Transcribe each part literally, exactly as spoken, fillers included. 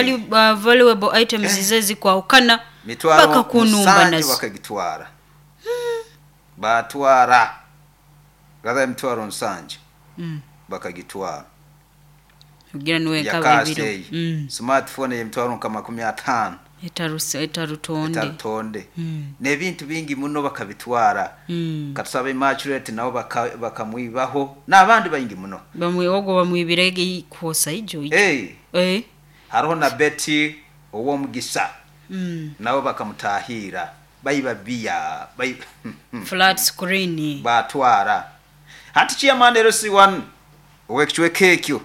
value, uh, valuable items Eh. ze ezikwahukana Mitwaro bakakunumba musanju nazo. Bakagitwara, batwara gatha emitwaro nsanju. Mm. Bakagitwara. Kugira niwe ya nkaba cash ebiro. eyo Mm. smartphone y'emitwaro nka makumi ataano. Etaruse- etarutonde Etarutonde. Mm. N'ebintu bingi muno bakabitwara. Mm. Katusaba Immaculate nabo baka- bakamwibaho n'abandi baingi muno. Bamwe ogwo bamwibire kwosa ijo ijo. Hey, Eh. hariho na Betty ow'omugisa. Mm. Nabo bakamutahira, bayiba biya bayi Flat screen. Batwara. Hati chairman L C one ow'ekicweka ekyo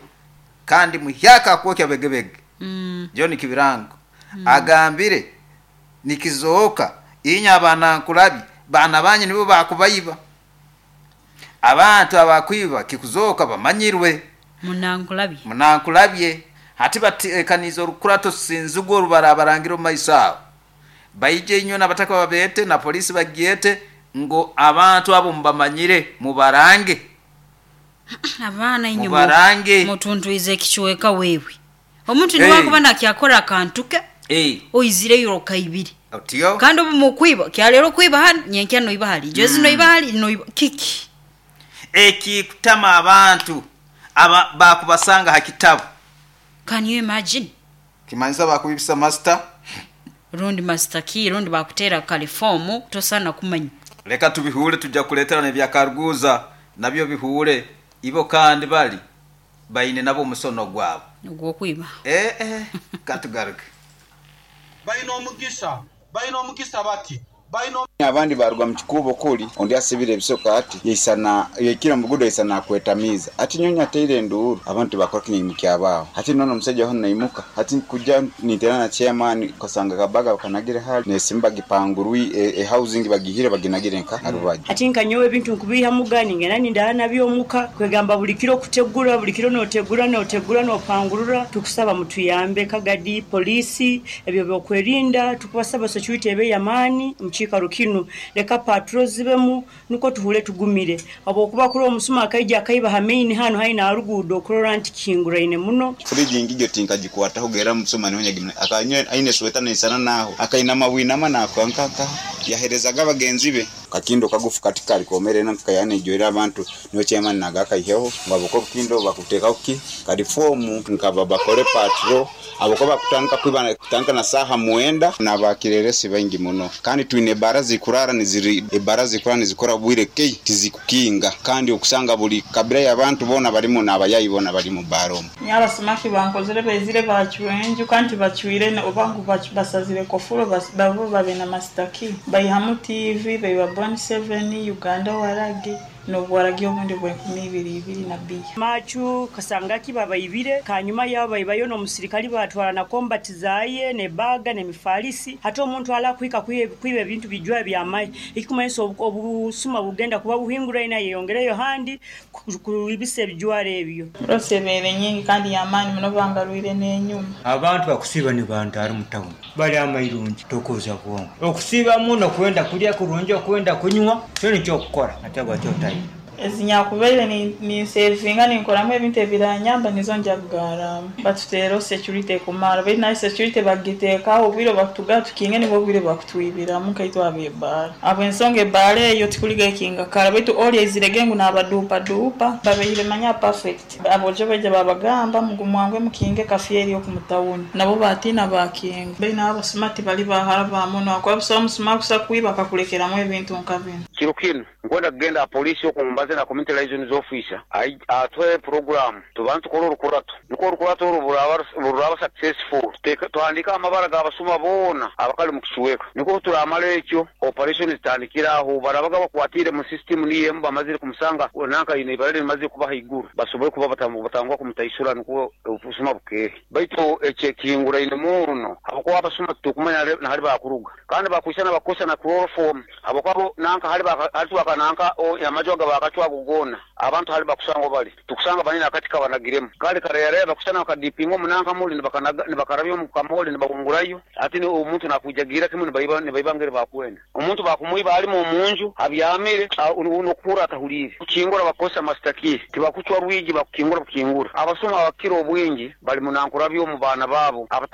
kandi muhyaka akwokya begebege, Mm. John Kibirango, agambire nikizooka inya abanankulabi baana banyu nibo bakubayiba. Abantu abakwiba kikuzooka bamanyirwe. Munankulabye. Munankulabye. Hati batekaniza orukurato sinzigo orubarabarangira omu maiso aho baije inywe n'abataka babete na polisi bagyete ngo abantu abo mubamanyire, mubarange. Abaana inye Mubarange. mutuntwize ekichweka wewe omuntu Hey. niwakuba nakyakora akantu ke hey. oizireyo okaibire. Otyo. Kandi obu mukwiba kyalero kwiba hano, nyenkya noiba hali, jozi noiba hali, noiba kiki. Ekikutama abantu aba bakubasanga ha kitabu. Can you imagine? Kimanyisa bakubibisa master. Rundi master key, rundi bakutera kalifomu tosana kumanya. Leka tubihure, tujja kuletera nebyakaruguza nabyo bihure ibo kandi bali baine nabo omusono gwabo. Ogwokwiba. eh, eh, katugaruke. Balina omugisa, balina omugisa bati balina. Abandi baruga mu kikubo kuli ondi asibire ebisoka ati yaisana yaikira mugudo yaisana akwetamiza ati nyonyi ateire enduuru abantu bakora kinyimu kyabaaho. Hati nono omusajja hono naimuka hati kuja niterana na chairman kasanga kabaga bakanagire hali nesimu bagipangurwi e, e housing bagihire baginagire nka harubaji. Ati nkanyowe ebintu nkubiha mugani ngena nindala nabyomuka kwegamba buli kiro kutegura, buli kiro notegura, notegura, nopangurura. Tukusaba mutuyambe kagadi polisi ebyo byokwerinda, tukubasaba security ebe yamaani mukiikaro kinu, leka patrol zibemu nuko tuhule tugumire habwokuba kuri omusuma akaija akaiba ha main hano haina arugudo okurora nti kinguraine muno. Friji ngijo tinkagikwataho gera musoma niho nyagimwe akanywe aine sweta naisana naho akainama bwinama nakankanka yaherezaga bagenzi be kakindo kagufu katikali komere nakayane joera abantu niho chairman nagakaiheho ngo aboko kindo bakutekaho ki kalifomu nkaba bakore patrol aboko bakutandika kwiba kutandika na saha muenda n'abakireresi baingi muno. Kandi twine bara zikurara niziri ebara zikurara nizikora bwire kei tizikukinga kandi okusanga buli kabila y'abantu bona barimu n'abayayi bona bari mu baromu. Nyabasumaki bankozere bezire bacyuye enju kandi bacyuire ne- oba ngu bacu- basazire kofuro bas- babo babe na master key bayihamu T V bayiba Bon seven Uganda waragi n'obwaragi obundi bw'enkumi ibiri ibiri na biya. Machu kasangaki babayibire kanyuma yabo bayibayo n'omusirikali batwala na combat zaye ne baga ne mifalisi. Hata omuntu ala kwika kwiba ebintu bijwa byamayi ikikumanyisa obu- obusuma bugenda kuba buhinguraine yeyongereyo handi ku- kuibisa ebijwaro ebyo. Rose ebeere nyingi kandi yamaani muno bangarwire n'enyuma. Abantu bakusiiba ni bantu ari mu tawuni bali amairungi tokuza bwongo okusiiba muno kwenda kulya kurungi okwenda kunywa kyo nikyo okukora ate bwatyo otayina. Ezinyakubaire ni- ninsevinga ninkoramu ebintu ebiranyamba nizo njagaramu batuteereho security ekumara baitu nayo security bagiteekaho obwire bakutugaa tukinge nibwo obwire bakutwibiramu nkaitwe abebaara habwensonga ebaara eyo tikuliga ekinga kara baitu oli aizirege ngu nabaduupaduupa babeire manya perfect abojo baija babagamba mugumwangwe mukinge kafyeri okumutawuni nabo batiina bakinga baitu nabo abasuma tibali bahara bamuno akuba busaho omusuma kusa kwiba akakulekeramu ebintu nka bino. Kiro kinu nkwenda kugenda ha polisi okumbaze na community liaisons officer ai- atwe program tubantu tukore orukurato niko orukurato oru buraba buraba successful. Teka- tuhandika amabara g'abasuma boona abakali mu kicweka niko turamara ekyo operation zitandikira aho barabaga bakwatire mu system niyemu bamazire kumusanga nanka ine ibara rimazire kuba haiguru basobole kuba batamu- batangwa kumutaisura niko obusuma bukehe. Baitu ekyo ekihinguraine muno habwokuba abasuma tukumanya nahali- nahali bakuruga kandi bakwisa bakosa na chloroform habwokuba bo nanka hali baka- hali twaka nanka o- amaju aga bakacwago gona abantu hali bakusanga bali tukusanga banene akati kabanagiremu kale kareyaraya bakusana bakadipinga omunanka muli nibakanaga- nibakarabya omu kamoli nibahungurayo ati ni omuntu nakujagira kimu nibaiba nibaiba ngeri bakwenda omuntu bakumwiba alimu omunju abyamire a- nokuhura atahulire kukingura bakosa master key tibakucwa rwigi bakukingura bukingura. Abasuma abakira obwingi bali munankurabyo omu baana baabo abataka.